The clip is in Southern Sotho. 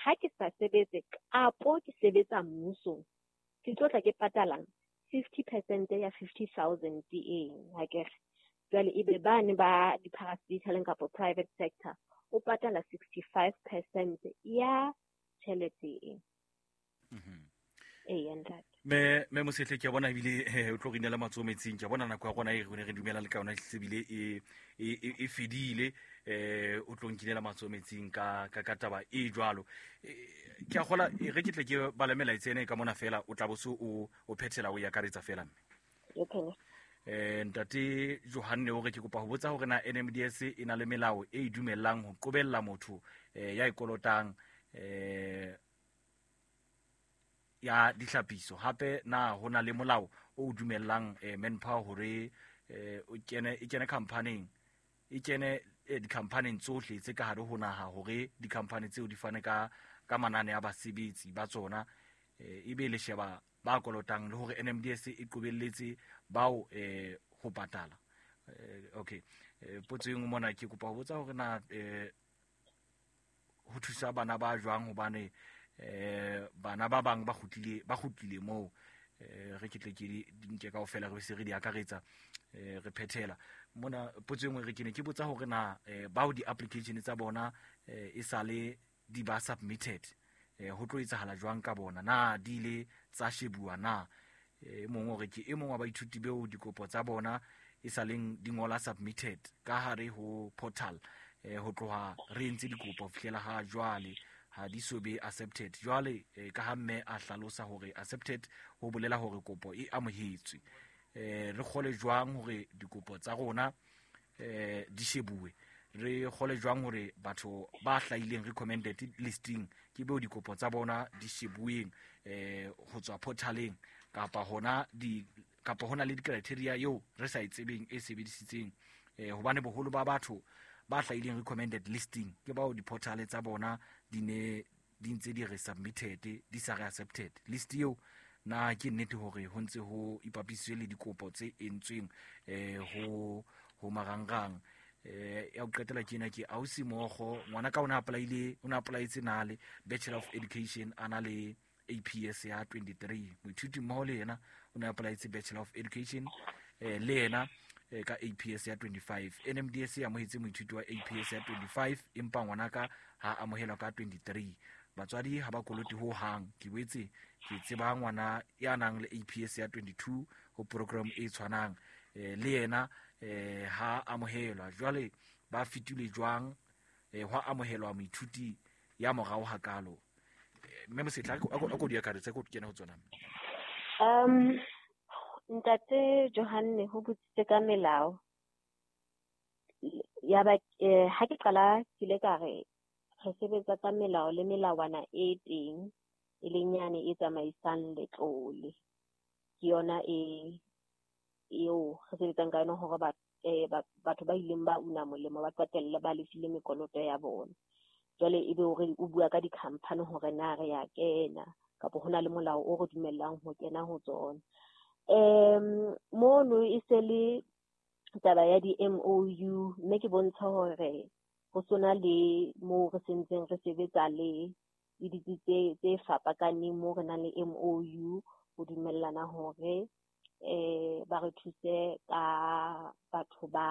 ha ke sa sebetse kapo ke sebetsa mmusong, ke tlo tla ke patalang 50% ya 50,000 eng, akere. Jwale ebe bane ba di-parastataleng kapa private sector o patala 65% ya tjhelete e. Ee, ntate. Me Mosehle, ke a bona ebile o tlo re inela matsoho metsing. Ke a bona nako ya rona e re ne re dumela le ka yona ebile e fedile. O tlo nkinela matsoho metsing ka taba e jwalo. Ke a kgola re ke tle ke bale melaetsa ena e ka mona fela, o tla bo se o phethela o e akaretsa fela mme. Okay. Ntate Johanne o re ke kopa ho botsa hore na NMDS e na le melao e e dumellang ho qobella motho ya e kolotang ya dihlapiso. Hape na ho na le molao o dumellang manpower hore o kene, e kene company-eng, e kene di-company-eng tsohle tse ka hare ho naha, hore di-company tseo di fane ka manane a basebetsi ba tsona, ebe le sheba ba kolotang le hore NMDS e qobelletse bao ho patala. Okay. Potso e nngwe mona ke kopa ho botsa hore na ho thusa bana ba jwang, hobane bana ba bang ba kgutlile moo. Re ke tle ke di nke kaofela, re se re di akaretsa, re phethela mona. Potso e nngwe re ke ne ke botsa hore na bao di-application tsa bona e sale di ba submitted, ho tlo etsahala jwang ka bona, na di ile tsa shebuwa na? E mong o re ke e mong wa baithuti beo dikopo tsa bona e saleng di ngola submitted ka hare ho portal, ho tloha re entse dikopo ho fihlela ha jwale ha di so be accepted. Jwale ka ha mme a hlalosa hore accepted ho bolela hore kopo e amohetswe, re kgole jwang hore dikopo tsa rona di shebuwe? Re kgole jwang hore batho ba hlahileng recommended listing ke beo dikopo tsa bona di shebuweng ho tswa portaleng, kapa hona di kapa hona le di-criteria eo re sa e tsebeng e sebedisitseng? Hobane boholo ba batho ba hlahileng recommended listing ke bao di-portal tsa bona di ne di ntse di re submitted, di sa re accepted. List eo na ke nnete hore ho ntse ho ipapisitswe le dikopo tse entsweng ho marangrang? Ya ho qetela ke ena, ke ausi Mogo, ngwana ka o ne apply-ile, o ne apply-etse nale Bachelor of Education, a na le APS ya 23. Moithuti mmoho le yena o ne apply-etse Bachelor of Education, le yena ka APS ya 25. NMDS e amohetse moithuti wa APS ya 25, empa ngwanaka ha amohelwa ka 23. Batswadi ha ba kolote ho hang. Ke boetse ke tseba ngwana ya nang le APS ya 22 ho program e tshwanang, le yena ha amohelwa. Jwale ba fetile jwang hwa amohelwa moithuti ya morao hakalo? Mme Mosetla, a ko di akaretse, ko kene ho tsona. Ntate Johanne ho botsitse ka melao ya ba ha ke qala ke ile ka re re sebetsa ka melao le melawana e teng, e leng yane e tsamaisang letlole. Ke yona e eo re sebetsang ka yona hore batho ba ileng ba una molemo ba qetelle ba lefile mekoloto ya bona. Jwale ebe hore o bua ka di-company hore na re ya kena kapa hona le molao o re dumellang ho kena ho tsona. Mono e se le taba ya di-MOU, mme ke bontsha hore ho sona le moo re sentseng re sebetsa le ditsi tse fapakaneng, moo re nang le MOU ho dumellana hore ba re thuse ka batho ba